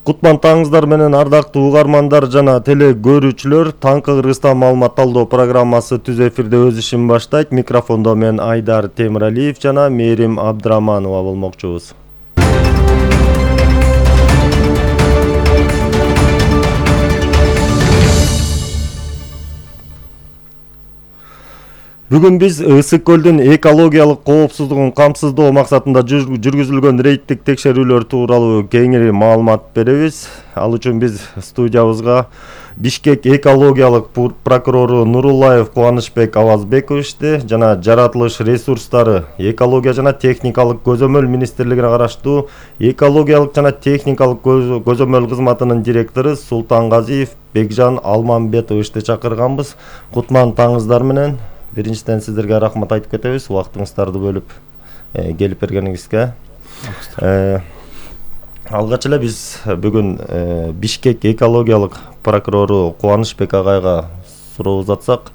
Кутман таңыңыздар менен ардактуу угармандар жана теле көрүүчүлөр. Таңкы Кыргызстан маалымат талдоо программасы түз эфирде өз ишин баштайт. Микрофондо мен Айдар Темиралиев жана Мээрим Абдыраманова болмокчубуз. Бүгүн биз Ысык көлдүн экологиялык коопсуздугун камсыздоо максатында жүргүзүлгөн рейдтик текшерүүлөр тууралуу кеңири маалымат беребиз. Ал үчүн биз студиябызга Бишкек экологиялык прокурору Нуруллаев Кубанычбек Авазбековичти жана жаратылыш ресурстары, экология жана техникалык көзөмөл министрлигине караштуу экологиялык жана техникалык көзөмөл кызматынын директору Султангазиев Бекжан Алмамбетовичти чакырганбыз. Кутман таңыңыздар менен. Биринчиден сиздерге рахмат айтып кетебиз, убактыңыздарды бөлүп келип бергениңизге. Алгач эле биз бүгүн Бишкек экологиялык прокурору Кубанычбек агайга суроо узатсак,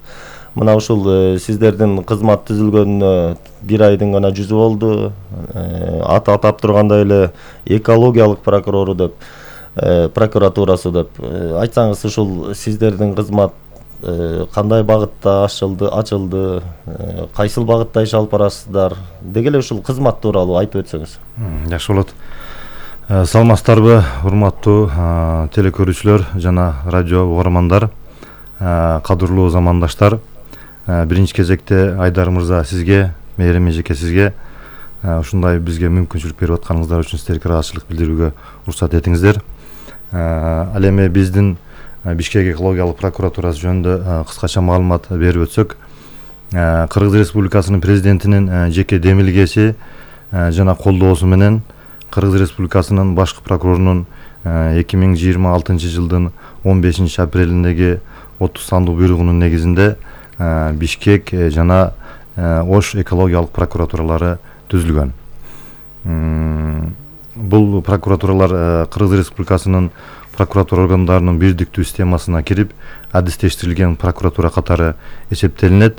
мына ушул сиздердин кызмат түзүлгөнүнө бир айдын гана жүзү болду. Атап тургандай эле экологиялык прокурору деп, прокуратурасы деп айтсаңыз, ушул сиздердин кызмат кандай багытта ачылды, кайсыл багытта иш алып барасыздар деги эле ушул кызмат тууралуу айтып өтсөңүз. Жакшы болот. Саламатсыздарбы, урматтуу телекөрүүчүлөр жана радио угармандар, кадырлуу замандаштар. Биринчи кезекте Айдар мырза сизге, Мээрим эжеке сизге ушундай бизге мүмкүнчүлүк берип атканыңыздар үчүн сиздерге ыраазычылык билдирүүгө уруксат этиңиздер. Ал эми биздин Бишкек экологиялык прокуратурасы жөнүндө кыскача маалымат берип өтсөк, Кыргыз Республикасынын президентинин жеке демилгеси жана колдоосу менен Кыргыз Республикасынын башкы прокурорунун 2026 жылдын 15 апрелиндеги 30 сандуу буйругунун негизинде Бишкек жана Ош экологиялык прокуратуралары түзүлгөн. Бул прокуратуралар Кыргыз Республикасынын прокуратура органдарынын бирдиктүү системасына кирип, адистештирилген прокуратура катары эсептелинет.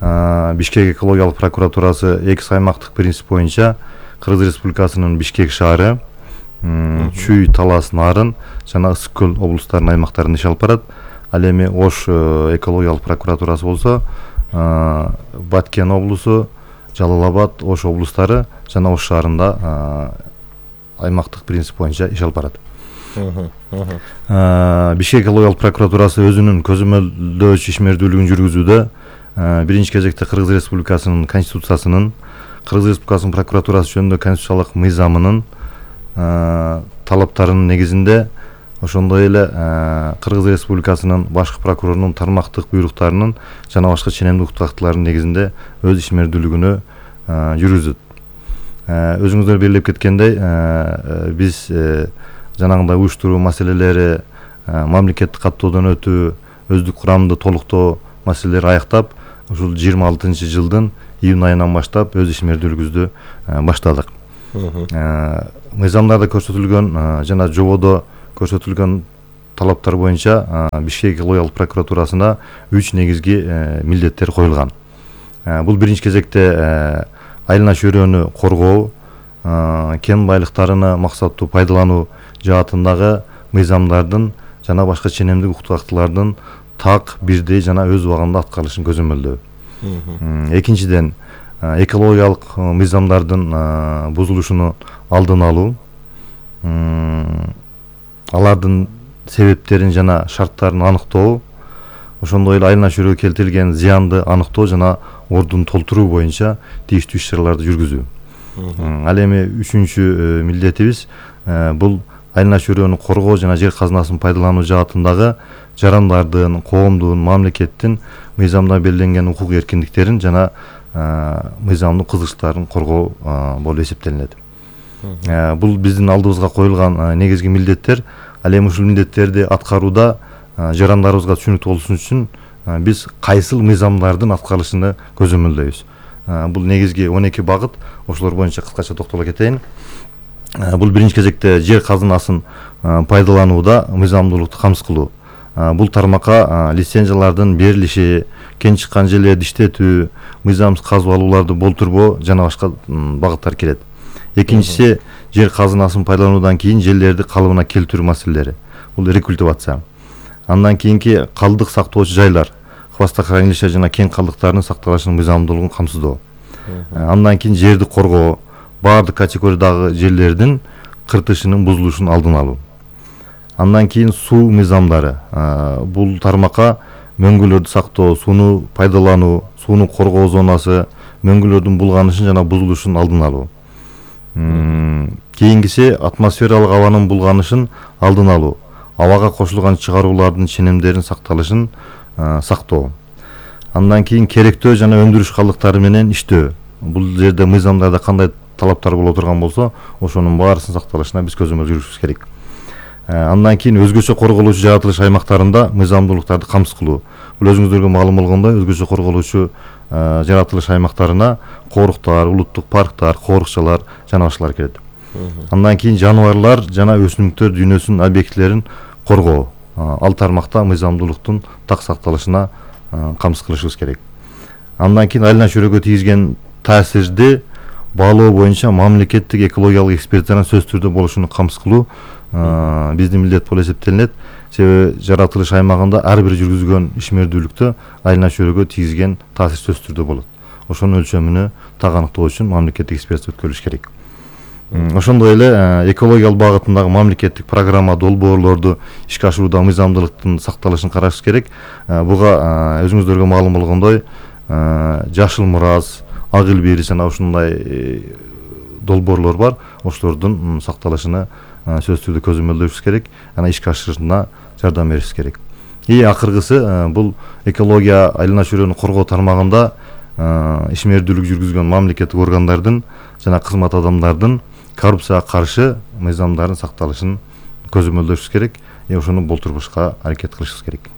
Бишкек экологиялык прокуратурасы экс аймактык принцип боюнча Кыргыз Республикасынын Бишкек шаары, Чүй, Талас, Нарын жана Ысык көл облустарынын аймактарында иш алып барат. Ал эми Ош экологиялык прокуратурасы болсо Баткен облусу, Жалал Абад, Ош облустары жана Ош шаарында аймактык принцип боюнча иш алып барат. Бишкек экологиялык прокуратурасы өзүнүн көзөмөлдөөчү ишмердүүлүгүн жүргүзүүдө биринчи кезекте Кыргыз Республикасынын конституциясынын, Кыргыз Республикасынын прокуратурасы жөнүндө конституциялык мыйзамынын талаптарынын негизинде, ошондой эле Кыргыз Республикасынын башкы прокурорунун тармактык буйруктарынын жана башка ченемдик укуктактуулардын негизинде өз ишмердүүлүгүнө жүргүзөт. Өзүңүздөр белгилеп кеткендей, биз жанагындай уюштуруу маселелери, мамлекеттик каттоодон өтүү, өздүк курамды толуктоо маселелери аяктап, ушул 26 жылдын июнь айынан баштап өз ишмердүүлүгүбүздү баштадык. Мыйзамдарда көрсөтүлгөн жана жободо көрсөтүлгөн талаптар боюнча Бишкек экологиялык прокуратурасына 3 негизги милдеттер коюлган. Бул биринчи кезекте айлана чөйрөнү коргоо, кен байлыктарыны максаттуу пайдалануу жаатындагы мыйзамдардын жана башка ченемдик укуктактуулардын так, бирдей жана өз убагында аткарылышын көзөмөлдөө. Экинчиден, экологиялык мыйзамдардын бузулушунун алдын алуу, алардын себептерин жана шарттарын аныктоо, ошондой эле айлана чөйрөгө келтирилген зыянды аныктоо жана ордун толтуруу боюнча тийиштүү иш-чараларды жүргүзүү. Ал эми үчүнчү милдетибиз бул айлана чөйрөнү коргоо жана жер казынасын пайдалануу жаатындагы жарандардын, коомдун, мамлекеттин мыйзамда белгиленген укук эркиндиктерин жана мыйзамдык кызыкчылыктарын коргоо болуп эсептелинет. Бул биздин алдыбызга коюлган негизги милдеттер. Ал эми ушул милдеттерди аткарууда жарандарыбызга түшүнүктүү болушун үчүн биз кайсыл мыйзамдардын аткарылышын көзөмөлдөйбүз. Бул негизги 12 багыт, ошолор боюнча кыскача токтоло кетейин. Бул биринчи кезекте жер казынасын пайдаланууда мыйзамдуулукту камсыз кылуу. Бул тармакка лицензиялардын берилиши, кен чыккан жерлерди иштетүү, мыйзамсыз казып алууларды болтурбоо жана башка багыттар кирет. Экинчиси жер казынасын пайдалануудан кийин жерлерди калыбына келтирүү маселелери. Бул рекультивация. Андан кийинки калдык сактоочу жайлар, хвостохранилище жана кең калдыктардын сакталышынын мыйзамдуулугун камсыздоо. Андан кийин жерди коргоо, баардык категориядагы жерлердин кыртышынын бузулушунун алдын алуу. Андан кийин суу мыйзамдары. Бул тармакка мөңгүлөрдү сактоо, сууну пайдалануу, сууну коргоо зонасы, мөңгүлөрдүн булганышын жана бузулушунун алдын алуу. Кийинкиси атмосфералык абанын булганышын алдын алуу, абага кошулган чыгаруулардын ченемдеринин сакталышын сактоо. Андан кийин керектөө жана өндүрүш калдыктары менен иштөө. Бул жерде мыйзамдарда кандай талаптар боло турган болсо, ошонун баарысынын сакталышына биз көзөмөл жүргүзүбүз керек. Андан кийин өзгөчө корголуучу жаратылыш аймактарында мыйзамдуулуктарды камсыз кылуу. Бул өзүңүздөргө маалым болгондой, өзгөчө корголуучу жаратылыш аймактарына коруктар, улуттук парктар, коорукчалар жана башкалар кирет. Андан кийин жаныбарлар жана өсүмдүктөр дүйнөсүнүн объектилерин коргоо. Ал тармакта мыйзамдуулуктун так сакталышына камсыз кылышыбыз керек. Андан кийин айлана чөйрөгө тийгизген таасирди баалоо боюнча мамлекеттик экологиялык эксперттердин сөзсүз түрдө болушуну камсыз кылуу биздин милдет болуп эсептелинет. Себеби жаратылыш аймагында ар бир жүргүзгөн ишмердүүлүктө айлана чөйрөгө тийгизген таасир сөзсүз түрдө болот. Ошонун өлчөмүнө так аныктоо үчүн мамлекеттик эксперт өткөрүлүш керек. Ошондой эле экологиялык багытындагы мамлекеттик программа долбоорлорду ишке ашырууда мыйзамдуулуктун сакталышын карашыбыз керек. Буга өзүңүздөргө маалым болгондой, Жашыл Мураз, Ак эл Бири жана ушундай долбоорлор бар. Ошолордун сакталышына сөзсүз түрдө көзөмөлдөшүбүз керек, ана ишке ашырышына жардам беришибиз керек. Акыркысы бул экология айлана чөйрөнү коргоо тармагында ишмердүүлүк жүргүзгөн мамлекеттик органдардын жана кызмат адамдардын коррупцияга каршы мыйзамдардын сакталышын көзөмөлдөшүбүз керек. Ошону болтурбашка аракет кылышыбыз керек.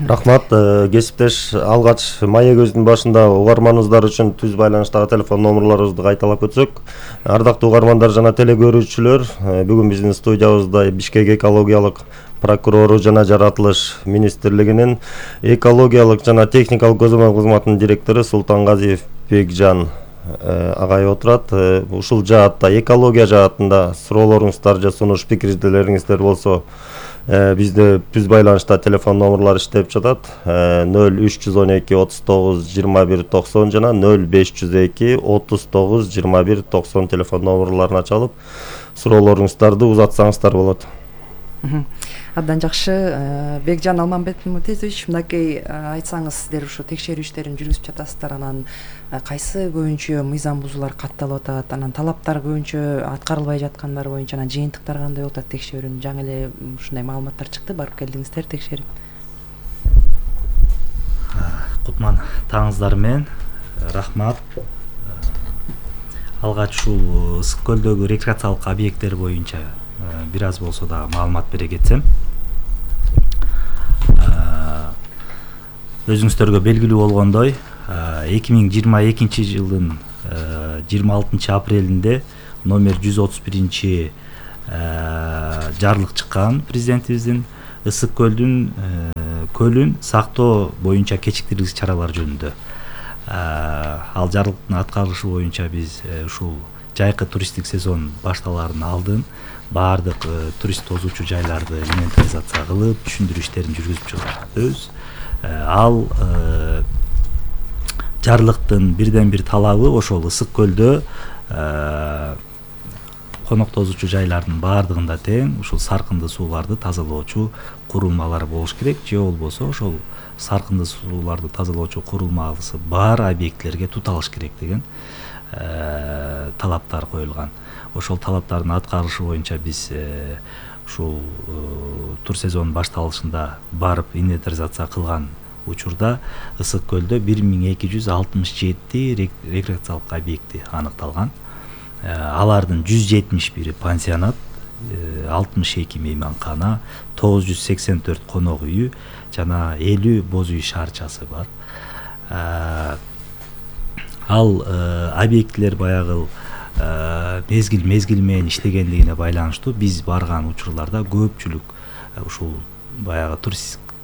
Рахмат, кесиптеш, алгач Мая көздүн башында угарманыбыздар үчүн түз байланыштагы телефон номерлорубузду кайталап өтсөк. Ардактуу угармандар жана телегөрүүчүлөр, бүгүн биздин студиябызда Бишкек экологиялык прокурору жана жаратылыш министрлигинин экологиялык жана техникалык көзөмөл кызматынын директору Султангазиев Бекжан агай отурат. Ушул жаатта, экология жаатында суроолоруңуздар же сунуш пикирлериңиздер болсо, бизде түз байланышта телефон номерлары иштеп жатат. 0312 39 21 90 жана 0502 39 21 90 телефон номерларына чалып суроолоруңуздарды узатсаңыздар болот. Абдан жакшы. Бекжан Алмамбетович, мынакей айтсаңыз, сиздер ушу текшерүү иштерин жүргүзүп жатасыздар, анан кайсы көбүнчө мыйзам бузуулар катталып атат, анан талаптар көбүнчө аткарылбай жаткандар боюнча, анан жыйынтыктар кандай болуп атат текшерүүнүн? Жаңы эле ушундай маалыматтар чыкты, барып келдиңиздер текшерип. Кутман таңыңыздар менен рахмат. Алгач ушул Ысык көлдөгү рекреациялык объекттер боюнча бир аз болсо да маалымат бере кетсем. Өзүңүздөргө белгилүү болгондой, 2022 жылдын 26 апрелинде номер 131 жарлык чыккан президентибиздин Ысык көлүн сактоо боюнча кечиктирилгис чаралар жөнүндө. Ал жарлыктын аткарылышы боюнча биз ушул жайкы туристтик сезон башталаардын алдын баардык турист тозуучу жайларды инвентаризация кылып, түшүндүрүү иштерин жүргүзүп жатабыз. Ал жарлыктын бирден бир талабы ошол Ысык көлдө конок тозуучу жайлардын баардыгында тең ушул саркынды сууларды тазалоочу курулмалар болуш керек, же болбосо ошол саркынды сууларды тазалоочу курулмасы бар объектлерге туталыш керек деген талаптар коюлган. Ошол талаптардын аткарылышы боюнча биз ушул тур сезон башталышында барып инвентаризация кылган учурда Ысык көлдө 1267 рекреациялык объекти аныкталган. Алардын 171 пансионат, 62 мейманкана, 984 конок үйү жана 50 боз үй шаарчасы бар. Ал объекттер баягы мезгил менен иштегендигине байланыштуу биз барган учурларда көпчүлүк ушул баягы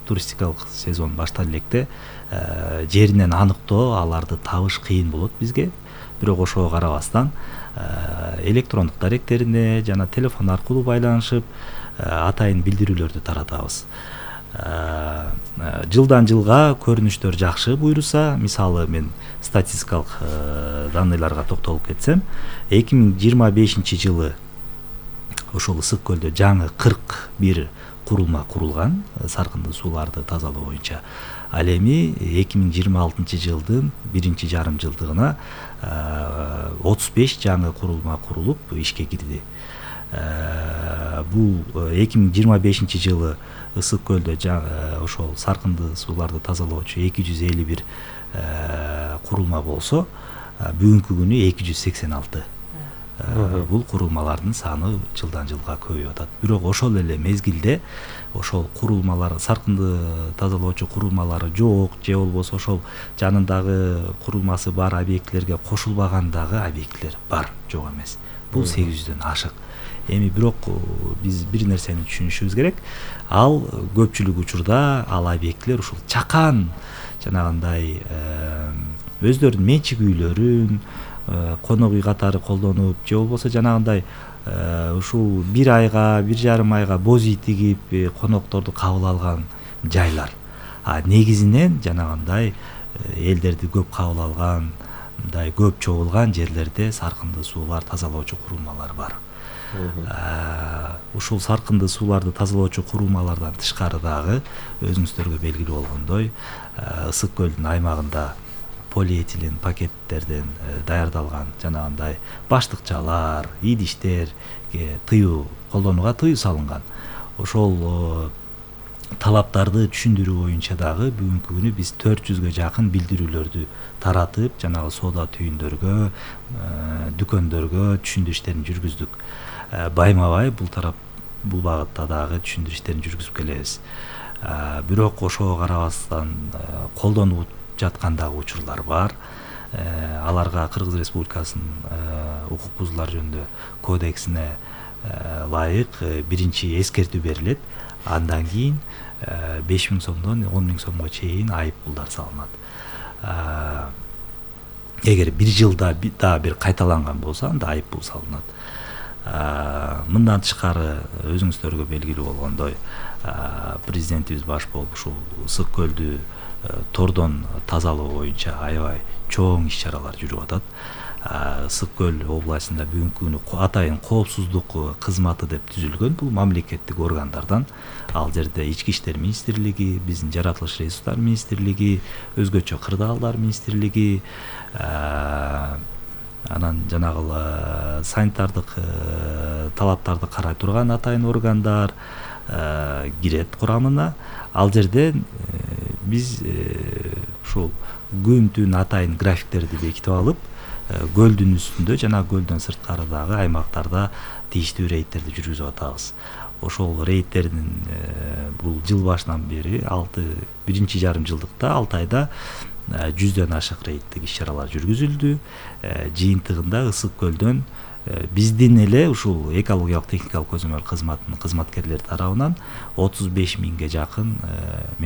туристикалык сезон башталып электе жеринен аныктоо, аларды табыш кыйын болот бизге. Бирок ошого карабастан электрондук даректерине жана телефон аркылуу байланышып атайын билдирүүлөрдү таратабыз. Жылдан жылга көрүнүштөр жакшы буйруса, мисалы мен статистикалык данныйларга токтолуп кетсем, 2025 жылы ошол Ысык көлдө жаңы 41 курулма курулган саркындуу сууларды тазалоо боюнча. Ал эми 2026 жылдын биринчи жарым жылдыгына 35 жаңы курулма курулуп ишке кирди. Бул 2025 жылы Ысык көлдө ошол саркындуу сууларды тазалоочу 251 курулма болсо, бүгүнкү күнү 286. Бул курулмалардын саны жылдан жылга көбөйүп атат. Бирок ошол эле мезгилде ошол курулмалар, саркынды тазалоочу курулмалары жок же болбосо ошол жанындагы курулмасы бар объектилерге кошулбаган дагы объектилер бар, жок эмес. Бул 800дөн ашык. Эми бирок биз бир нерсени түшүнүшүбүз керек. Ал көпчүлүк учурда ал объектилер ушул чакан жанагындай өздөрүнүн менчик үйлөрүн конок үй катары колдонуп же болбосо жанагындай ушул бир айга, бир жарым айга боз үй тигип конокторду кабыл алган жайлар. Негизинен жанагындай элдерди көп кабыл алган, мындай көп чогулган жерлерде саркынды суулар тазалоочу курулмалар бар. Ушул саркынды сууларды тазалоочу курулмалардан тышкары дагы өзүңүздөргө белгилүү болгондой Ысык көлдүн аймагында полиэтилен пакеттерден даярдалган жанагындай баштыкчалар, идиштер колдонууга тыюу салынган. Ошол талаптарды түшүндүрүү боюнча дагы бүгүнкү күнү биз 400гө жакын билдирүүлөрдү таратып, жанагы соода түйүндөргө, дүкөндөргө түшүндүрүү иштерин жүргүздүк. Байма-бай бул багытта дагы түшүндүрүү иштерин жүргүзүп келебиз. Бирок ошого карабастан колдонуп жаткан дагы учурлар бар. Аларга Кыргыз Республикасынын укук бузуулар жөнүндө кодексине ылайык биринчи эскертүү берилет. Андан кийин 5000 сомдон 10.000 сомго чейин айып пулдар салынат. Эгер бир жылда дагы бир кайталанган болсо, анда айып пул салынат. Мындан тышкары өзүңүздөргө белгилүү болгондой, президентибиз баш болуп ушул Ысык көлдү тордон тазалоо боюнча аябай чоң иш-чаралар жүрүп атат. Ысык көл областында бүгүнкү күнү атайын коопсуздук кызматы деп түзүлгөн. Бул мамлекеттик органдардан, ал жерде Ички иштер министрлиги, биздин жаратылыш ресурстар министрлиги, өзгөчө кырдаалдар министрлиги, анан жанагы санитардык талаптарды карай турган атайын органдар кирет курамына. Ал жерде биз ушул күн-түн атайын графиктерди бекитип алып, көлдүн үстүндө жана көлдөн сырткарыдагы аймактарда тийиштүү рейдтерди жүргүзүп атабыз. Ошол рейдтердин бул жыл башынан бери биринчи жарым жылдыкта 6 айда 100дөн ашык рейдтик иш-чаралар жүргүзүлдү. Жыйынтыгында Ысык көлдөн биздин эле ушул экологиялык техникалык көзөмөл кызматынын кызматкерлери тарабынан 35.000ге жакын